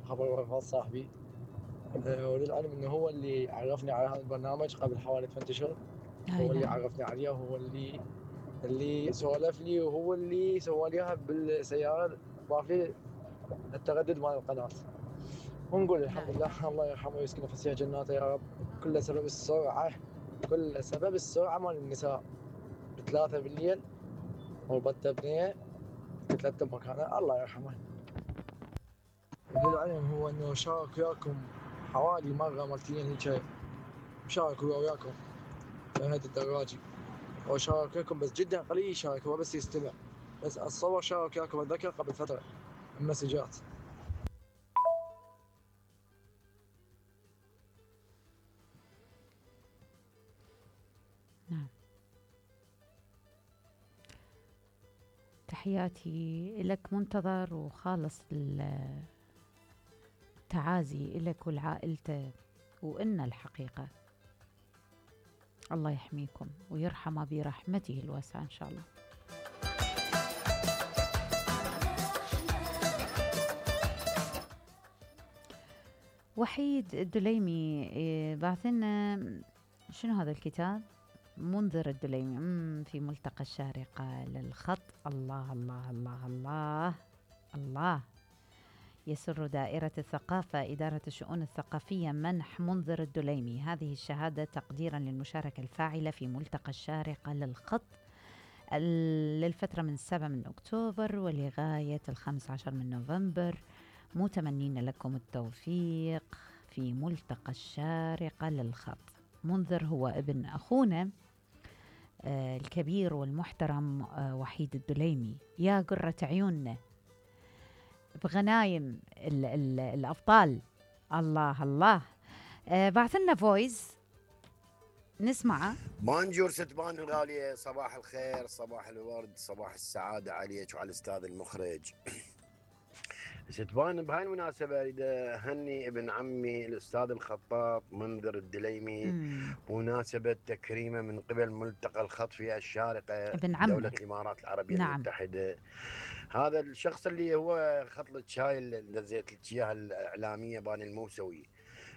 خبر وفاة صاحبي. وللعلم انه هو اللي عرفني على هذا البرنامج قبل حوالي 8 اشهر. هو اللي عرفني عليه، وهو اللي سولف لي، وهو اللي سوى لي اياها بالسياره، ضاف لي التردد مال القناه. ونقول الحمد لله، الله يرحمه ويسكنه فسيح جناته يا رب. كل سبب السرعه مال النساء ب3 بالليل والبطه بنيه تتلتم مكانه، الله يرحمه. وللعلم هو انه شارك وياكم حوالي مره مرتين هيك، شارك هو وياكم في هذه الدراجه، وشارك وياكم بس جدا قليل يشارك، هو بس يستمع. بس اتصور شارك وياكم اتذكر قبل فتره المسجات. نعم، تحياتي لك منتظر، وخالص التعازي لك ولعائلته، وإن الحقيقة الله يحميكم ويرحمه برحمته الواسعة إن شاء الله. وحيد الدليمي بعثنا شنو هذا الكتاب؟ منذر الدليمي في ملتقى الشارقة للخط. الله الله الله الله الله. يسر دائرة الثقافة إدارة الشؤون الثقافية منح منذر الدليمي هذه الشهادة تقديرا للمشاركة الفاعلة في ملتقى الشارقة للخط للفترة من 7 من أكتوبر ولغاية 15 من نوفمبر، متمنين لكم التوفيق في ملتقى الشارقة للخط. منذر هو ابن أخونا الكبير والمحترم وحيد الدليمي، يا قرة عيوننا بغنايم الأبطال. الله الله. بعثلنا فويس نسمعه. بانجور ستبان الغالية، صباح الخير، صباح الورد، صباح السعادة عليك وعلى الأستاذ المخرج. ستبان بهاي المناسبة أريد أهني ابن عمي الأستاذ الخطاط منذر الدليمي بمناسبة تكريمه من قبل ملتقى الخط في الشارقة دولة الإمارات العربية المتحدة. هذا الشخص اللي هو خط لك هاي اللي نزلت لك اياها الإعلامية بان الموسوي،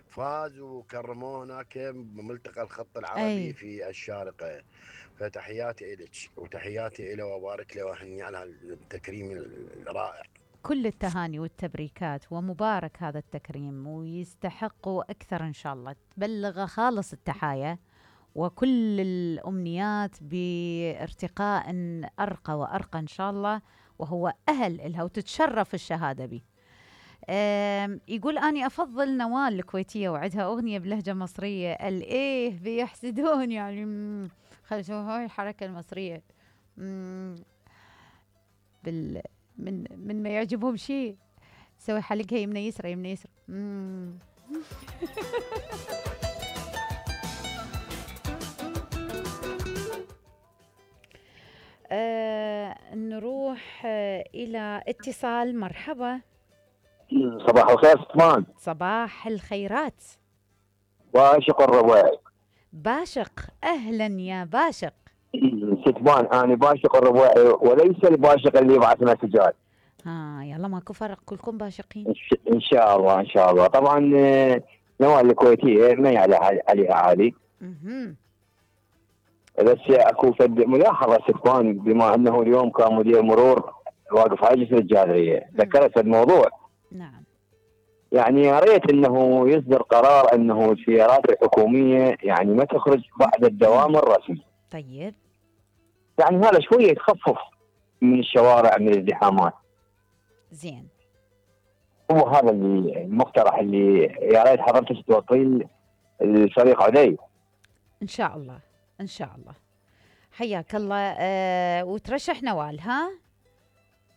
فاز وكرموه هناك بملتقى الخط العربي في الشارقة. فتحياتي إلك وتحياتي إله وبارك له وأهني على التكريم الرائع. كل التهاني والتبريكات، ومبارك هذا التكريم ويستحقوا أكثر إن شاء الله. تبلغ خالص التحايا وكل الأمنيات بارتقاء أرقى وأرقى إن شاء الله، وهو أهل إلها وتتشرف الشهادة به. يقول أني أفضل نوال الكويتية وعدها أغنية بلهجة مصرية. الإيه بيحسدون يعني خلصوا هاي الحركة المصرية من ما يعجبهم شيء سوي حلقها يمنى يسرى يمنى يسرى. نروح إلى اتصال. مرحبا. صباح الخير ستمان. صباح الخيرات. باشق الرباعي. باشق، أهلا يا باشق. ستمان أنا باشق الرباعي وليس الباشق اللي يبعث مسجات. يلا ماكو فرق، كلكم باشقين إن شاء الله إن شاء الله. طبعا نوال الكويتية ما عليها عادي. بس اكو فد ملاحظه ستمان، بما انه اليوم كان مدير مرور واقف على جسر الجادريه، ذكرت الموضوع. نعم. يعني يا ريت انه يصدر قرار انه السيارات الحكوميه يعني ما تخرج بعد الدوام الرسمي. طيب. يعني هذا شويه تخفف من الشوارع من الازدحامات. زين. هو هذا اللي المقترح اللي يا ريت حضرتك توصلين الفريق عدي. ان شاء الله ان شاء الله. حياك الله. وترشح نوال ها؟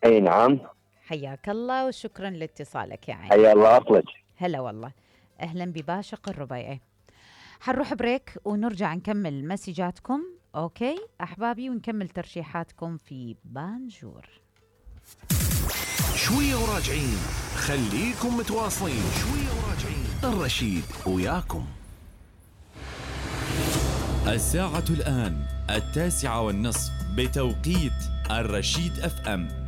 اي نعم. حياك الله وشكرا لاتصالك يا عيني. حيا الله اطلق. هلا والله. اهلا بباشق الربيعي. حنروح بريك ونرجع نكمل مسجاتكم اوكي احبابي، ونكمل ترشيحاتكم في بانجور. شويه وراجعين، خليكم متواصلين. شويه وراجعين، الرشيد وياكم. الساعة الآن 9:30 بتوقيت الرشيد FM.